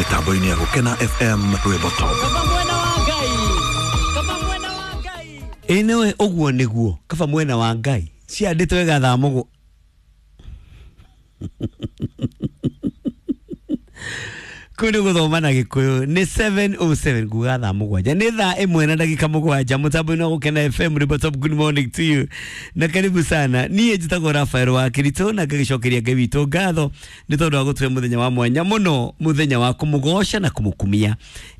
Mitambo-inĩ ya Gũkena FM, Rwĩmbo Top. Kaba mwena wa Ngai, kaba mwena wa Ngai. Ĩ nĩwe ũguo nĩguo kaba mwena wa Ngai ciandĩtwo wega thaa mũgũ kũu nĩ gũthoma na gĩkũyũ nĩ 7:07 nguga thaa 7 nĩ thaa 1 na ndagĩka 7 mũtambo-inĩ wa Gũkena FM Rwĩmbo Top. Good morning to you na karibu sana. Niĩ njĩtagwo Rafael wa Kiritũ na ngagĩcokeria Ngai witũ ngatho nĩ tondũ wa gũtũhe mũthenya wa mwanya mũno, mũthenya wa kũmũgoca na kũmũkumia.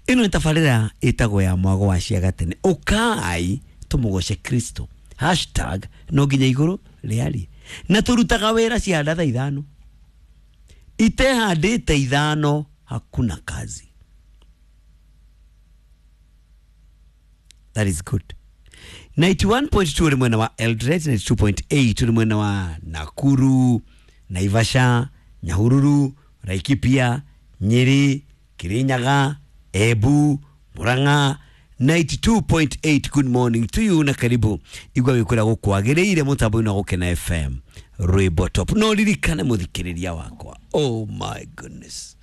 Ĩno nĩ tabarĩra ĩtagwo ya mwago wa ciagatene. Ũkai tũmũgoce Kristo, hashtag no nginya igũrũ rĩarie, na tũrutaga wĩra cianda thaa 5 itehandĩte 5 hakuna kazi. That is good. 91.2 uri mwena wa Eldoret, 92.8 uri mwena wa Nakuru, Naivasha, Nyahururu, Laikipia, Nyeri, Kirinyaga, Embu, Murang'a. 92.8. Good morning to you na karibu igwa wikura gukwagiriire mutambo-inĩ wa Gũkena FM Rwĩmbo Top. No ririkane mũthikĩrĩria wakwa, oh my goodness,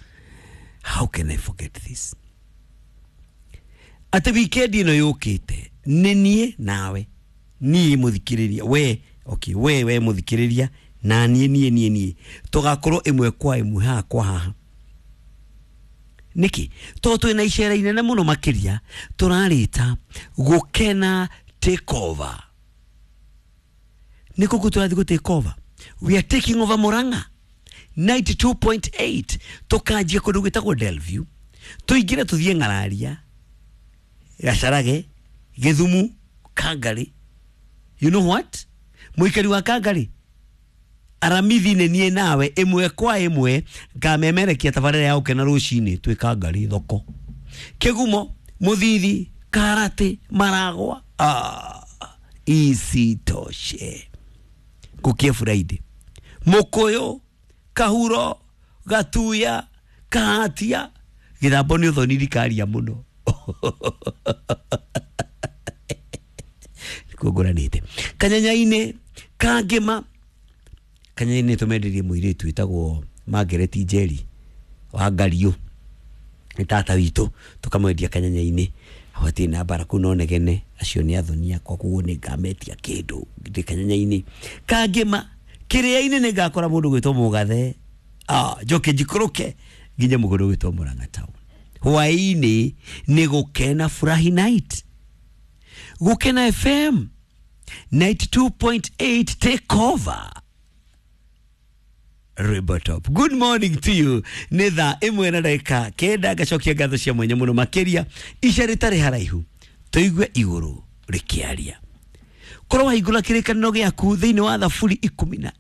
how can I forget this, atĩ wikendi ĩno yũkĩte nĩ niĩ nawe, niĩ mũthikĩrĩria we, okay, we mũthikĩrĩria na niĩ niĩ niĩ niĩ tũgakorwo ĩmwe kwa ĩmwe haha kwa haha. Nĩkĩ? Tondũ twĩna icera inene mũno makĩria tũrarĩta Gũkena take over. Nĩ kũkũ tũrathiĩ gũ take over? We are taking over Murang'a 92.8. Tũkanjia kũndũ gwĩtagwo Delview, tũingĩre tũthiĩ Ng'araria, Gacarage, Gĩthumu, Kangari. You know what? Mũikari wa Kangari aramithi nĩ niĩ nawe ĩmwe kwa ĩmwe ngamemerekia tabarĩra ya Gũkena rũcinĩ twĩ Kangari thoko, Kĩgumo, Mũthithi, Karate, Maragwa. Isitoshe gũkie Friday, Mũkũyũ, Kahuro, Gatuya, Kahatia, Gĩthambo nĩ ũthoni rikaria mũno nĩkuo ngũranĩte, Kanyanya-inĩ, Kangĩma. Kanyanya-inĩ tũmenderie mũirĩtu wĩtagwo Margaret Njeri wa Ngariũ, nĩ tata witũ, tũkamwendia Kanyanya-inĩ. Hatirĩ na mbara kũu no negene, acio nĩ athoni akwa, koguo nĩ ngametia kĩndũ ndĩ Kanyanya-inĩ. Kangĩma, Kĩrĩa-inĩ nĩ ngakora mũndũ gwĩtwo Mũgathe, njoke njikũrũke nginya mũgũnda gwĩtwo Murang'a town. Hwaĩ-inĩ nĩ Gũkena Furahi night, Gũkena FM 92.8 take over Rwĩmbo Top. Good morning to you. Nĩ thaa 1 na ndagĩka 9 ngacokia ngatho cia mwanya mũno makĩria ica rĩtarĩ haraihu tũigue igũrũ rĩkĩaria. Korwo wahingũra kĩrĩkanĩro gĩaku thĩinĩ wa Thaburi 13